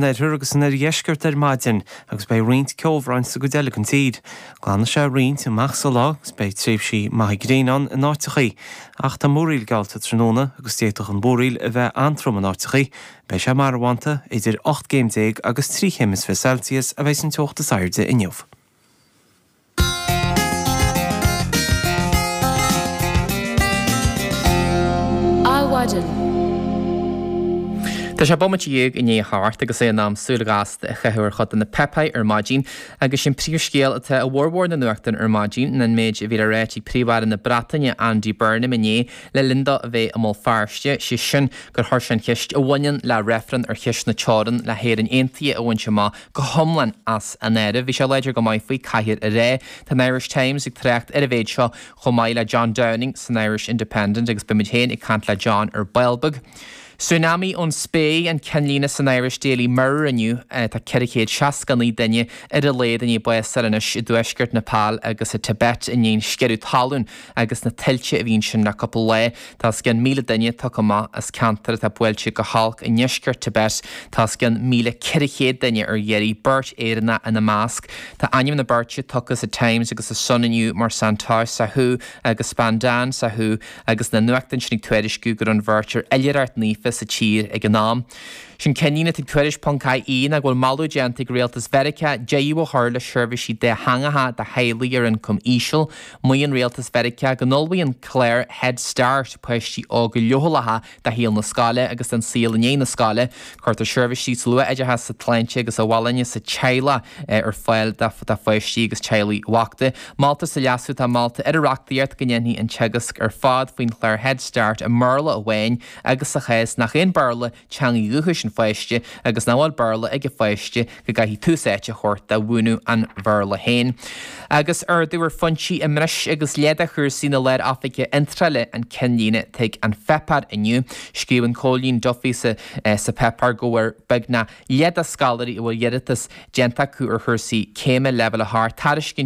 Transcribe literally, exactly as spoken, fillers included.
oirthear agus san oirdheisceart ar maidin agus beidh roinnt ceobhráin sa gcuid eile den tír. Glanfaidh sé roinnt amach sa lá agus beidh tréimhsí maithe gréine ann in áiteachaí. Ach tá múraíl geallta tráthnóna agus d'fhéadfadh an mhúraíl a bheith an-trom in áiteachaí. Beidh sé marbhánta, idir ocht gcéim déag agus trí chéim is fiche Celsius a bheidh an teocht is airde inniu. Adhmhaidin. Tá sé bomaite dhéag i ndiaidh a hocht agus é in am súil ghasta a chaitheamh ar chuid de na páipéir ar maidin agus sin príomhscéal atá i bhformhór na nuachtán ar maidin ná an méid a bhí le ráit ag Príomh-Aire na Breataine Andy Burnham inné le linn dó a bheith i mBéal Feirste, sé sin gur chuir sé an cheist a bhaineann le reifreann ar cheist na teorann le hÉirinn Aontaithe a bhaint amach go hiomlán as an áireamh. Bhí sé láidir go maith faoi, caithfear a rá. Tá an Irish Times ag trácht ar an mhéid seo chomh maith le John Downing san Irish Independent agus beidh muid féin ag caint le John ar ball beag. Tsunami ón spéir an ceannlíne san Irish Daily Mirror inniu. Tá ceithre chéad seasca naoi duine ar a laghad i ndiaidh bás a fháil anois i dtuaisceart Nepal agus i Tibet i ndiaidh an sciorradh talún agus na tuilte a bhí ansin le cúpla lá. Tá os cionn míle duine tugtha amach as ceantar atá buailte go holc i ndeisceart Tibet. Tá os cionn míle ceithre chéad duine ar iarraidh, beirt Éireannach ina measc. Tá ainm na beirte tugtha sa Times agus sa Sun inniu mar Santosh Sahu agus Spandan Sahu agus na nuachtáin sin ag tuairisciú go raibh an bheirt ar oilithreacht naofa sa tír ag an am. Sin ceannlíne atá ag Tuairisc ponc IE ná go bhfuil moladh déanta ag rialtas Mheiriceá deireadh a chur le seirbhísí dátheangacha do theaghlaigh ar ioncam íseal. Maíonn rialtas Mheiriceá go n-ullmhaíonn clár Head Start páistí óga leochaileacha do shaol na scoile agus don saol i ndiaidh na scoile. Cuirtear seirbhísí sa luath-oideachas, sa tsláinte agus sa bhfolláine sa teaghlach ar fáil do pháistí agus teaghlaigh bhochta. Moltar sa leasú atá molta ar an reachtaíocht go ndéanfaí an teagasc ar fad faoin chlár Head Start i mBéarla amháin agus sa chás nach é an Béarla teanga dhúchais an pháiste agus nach bhfuil Béarla ag an pháiste go gcaithfí tús áite a thabhairt do mhúineadh an Bhéarla féin. Agus ardú ar phointí i mbreis agus leath de chúrsaí na Lár-Oifige Iontrála an ceannlíne atá ag An Páipéar inniu. Scríobhann Cóilín Duffy sa Pháipéar go bhfuair beagnach leath de scoláirí a bhfuil iarratas déanta acu ar chúrsaí céime leibhéal a hocht tairiscintí